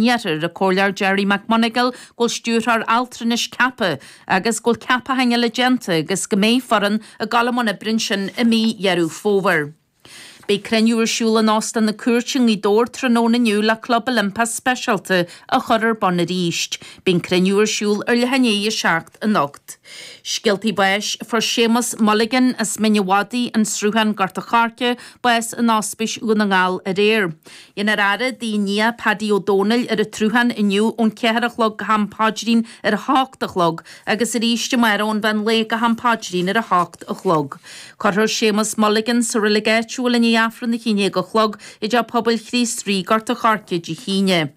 Iarthair, an Comhairleoir Gerry McMonagall, go bhfuil Stiúrthóir Altranais ceaptha agus go bhfuil ceapacháin eile déanta agus go mbeidh foireann ag dul i mbun oibre ansin i mí Dheireadh Fómhair. Beidh cruinniú ar siúl in Óstán na Cúirte i nGaoth Dobhair tráthnóna inniu le Club Oilimpeach speisialta a chur ar bun arís. Beidh an cruinniú ar siúl ar leath i ndiaidh a 7 anocht. Scéaltaí báis, Fuair Séamus Mulligan as Mín a' Mhadaidh, An Sruthán, Gort a' Choirce, bás in Ospís Dhún na nGall aréir. Dhéanfar faire dá nia Paddy Ó Dónaill ar an tSruthán inniu ón cheathair a chlog go ham paidrín ar a hocht a chlog agus arís amárach ón mheán lae go ham paidrín ar a hocht a chlog. Cuirfear Séamus Mulligan sa reilig áitiúil i ndiaidh Aifreann a haon déag a chlog i dTeach Pobail Chríost Rí, Gort a' Choirce Dé hAoine.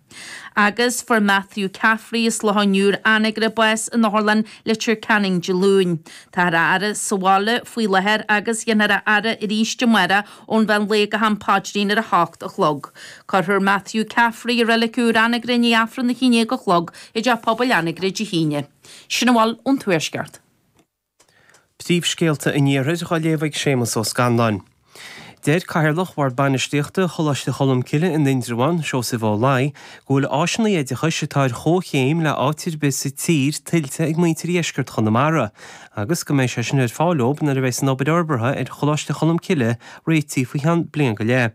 Agus fuair Matthew Caffrey as Loch an Iúir, Anagaire, bás in Otharlann Leitir Ceanainn Dé Luain. Táthar á fhaire sa bhaile faoi láthair agus dhéanfar a fhaire arís amárach ón mheán lae go ham paidrín ar a hocht a chlog. Cuirfear Matthew Caffrey i Reilig Úr Anagaire i ndiaidh Aifreann a haon déag a chlog i dTeach Pobail Anagaire Dé hAoine. Sin a bhfuil ón Tuaisceart. Príomhscéalta an Iarthair á léamh ag Séamus Ó Scanláin. Deir Cathaoirleach Bhord Bainistíochta Choláiste Cholmcille in Indreabhán, Seosamh Ó Laoi, go bhfuil áiseanna oideachais atá ar chomhchéim le áit ar bith sa tír tuillte ag muintir dheisceart Chonamara agus go mbeidh sé sin ar fáil dóibh nuair a bheas an obair fhorbartha ar Choláiste Cholmcille réitithe faoi cheann bliain go leith.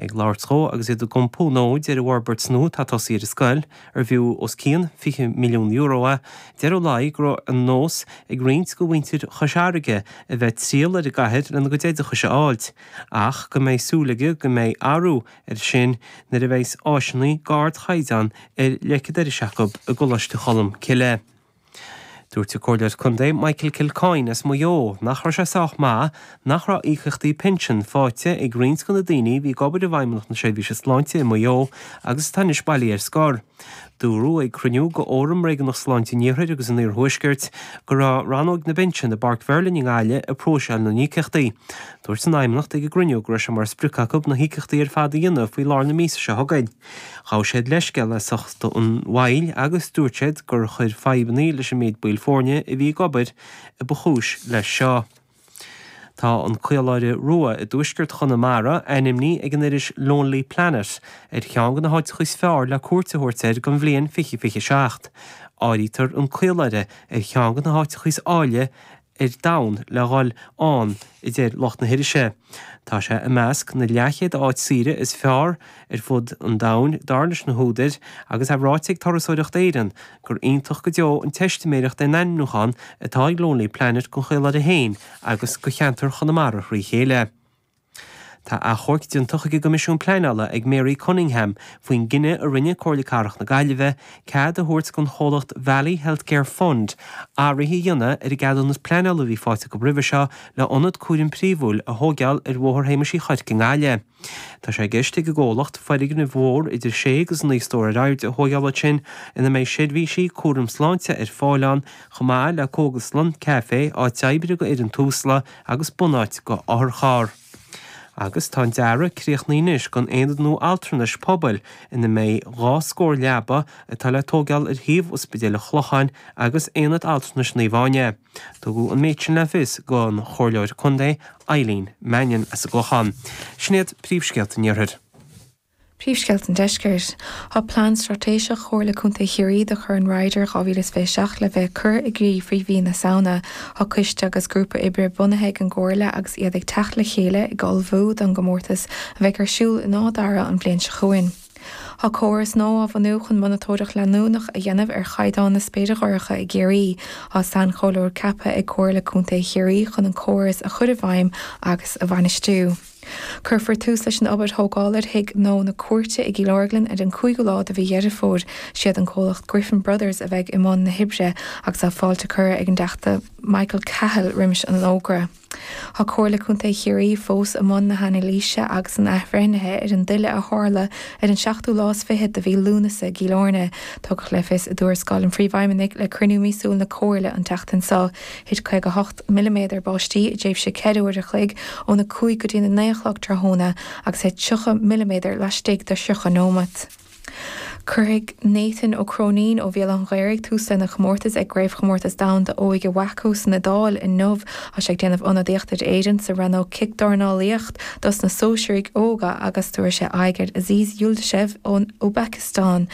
Ag labhairt dhó agus iad ag iompú nóid ar an bhforbairt nua atá tosaithe ar an scoil, ar bhfiú os cionn €20 milliún é, deir Ó Laoi go raibh an nós ag roinnt de mhuintir Chois Fharraige a bheith ag triall ar an gcathair lena gcuid oideachais a fháilt, ach go mbeidh súil aige go mbeidh athrú air sin nuair a bheas áiseanna d'ardchaighdeán ar leic an dorais acu i gColáiste Cholm Cille. Dúirt an Comhairleoir Contae Michael Kilcoyne as Maigh Eo nach raibh sé sách maith nach raibh íocaíochtaí pinsin faighte ag roinnt de na daoine a bhí ag obair i bhFeidhmeannacht na Seirbhíse Sláinte i Maigh Eo agus atá anois bailithe ar scor. Dúradh ag cruinniú de Fhóram Réigiúnach Sláinte an Iarthair agus an Iarthuaiscirt go raibh rannóg na bpinsean i bPáirc Mheirlin i nGaillimh ag próiseáil na n-íocaíochtaí. Dúirt an Fheidhmeannacht ag an gcruinniú go raibh sé mar sprioc acu na híocaíochtaí ar fad a dhéanamh faoi lár na míosa seo chugainn. Ghabh siad leithscéal as ucht an mhoill agus dúirt siad gur chuir fadhbanna leis an méid baill foirne a bhí ag obair a ba chúis leis seo. Tá an Caoláire Rua i dtuaisceart Chonamara ainmnithe ag an iris Lonely Planet ar cheann de na háiteacha is fearr le cuairt a thabhairt air don bhliain 2027. Áirítear an Caoláire ar cheann de na háiteacha is áille ar domhan le dhul ann, a deir lucht na hirise. Tá sé i measc na leathchéad áit saoire is fearr ar fud an domhain, dar leis na húdair, agus é ráite ag Turasóireacht Éireann gur iontach go deo an teistiméireacht é an ainmniúchán atá ag Lonely Planet don Chaoláire féin agus do cheantar Chonamara thrí chéile. Tá achomharc déanta chuig an gCoimisiún Pleanála ag Mary Cunningham faoin gcinneadh a rinne Comhairle Cathrach na Gaillimhe cead a thabhairt don chomhlacht Valley Healthcare Fund athruithe a dhéanamh ar an gceadúnas pleanála a bhí faighte acu roimhe seo le ionad cúraim príomhúil a thóigeáil ar Bhóthar Shéamais Uí Chuirc i nGaillimh. Tá sé i gceist ag an gcomhlacht foirgneamh mhór idir sé agus naoi stór ar airde a thóigeáil ansin ina mbeidh seirbhísí cúraim sláinte ar fáil ann chomh maith le cógaslann, caifé, áit oibre do fhoireann Tusla agus bunáit do otharcharr. Agus tá an dearadh críochnaithe anois don aonad nua altranais pobail ina mbeidh 2 scór leaba atá le tóigeáil ar shuíomh Ospidéal an Chlocháin agus Aonad Altranais Naomh Áine. Tugadh an méid sin le fios don Chomhairleoir Contae Eileen Mannion as an gClochán. Sin iad príomhscéalta an Iarthair. Príomhscéalta an Deiscirt. Tá Plean Straitéiseach Chomhairle Contae Chiarraí do Chorn Ryder 2027 le bheith curtha i gcrích faoi mhí na Samhna. Tá coiste agus grúpa oibre bunaithe ag an gComhairle agus iad ag teacht le chéile ag ullmhú don gcomórtas a bheidh ar siúl in Áth Dara an bhliain seo chugainn. Tá córas nua á bhunú chun monatóireacht leanúnach a dhéanamh ar chaighdeán na spéire dhorcha i gCiarraí. Tá sainchomhairleoir ceaptha ag Comhairle Contae Chiarraí chun an córas a chur i bhfeidhm agus a bhainistiú. Cuirfear tús leis an obair thógála ar Thigh Gnó na Cúirte i gCill Orglan ar an 5ú lá de mhí Dheireadh Fómhair. Siad an comhlacht Griffin Brothers a bheidh i mbun na hoibre agus tá fáilte curtha ag an dTeachta Michael Cahill roimis an fhógra. Tá Comhairle Contae Chiarraí fós i mbun na hanailíse agus an athbhreithnithe ar an dtuile a tharla ar an seachtú lá is fichead de mhí Lúnasa i gCill Airne. Tugadh le fios i dtuarascáil an Phríomhfheidhmeannaigh le cruinniú míosúil na Comhairle an tseachtain seo. Thit 58 milliméadar báistí i dtréimhse 4 uair a chloig, óna 5 go dtí na 9 a chlog tráthnóna, agus thit 30 milliméadar laistigh de 30 nóimeat. Cuirfidh Nathan Ó Cróinín ó Bhéal Átha an Ghaorthaidh tús lena chomórtas ag Craobhchomórtas Domhanda Óige WAKO san Iodáil inniu. Tá sé ag déanamh ionadaíochta d'Éirinn sa rannóg Cicdhornálaíocht dos na sóisearaigh óga agus tabharfaidh sé aghaidh ar Aziz Yuldashev ón Úisbéiceastáin.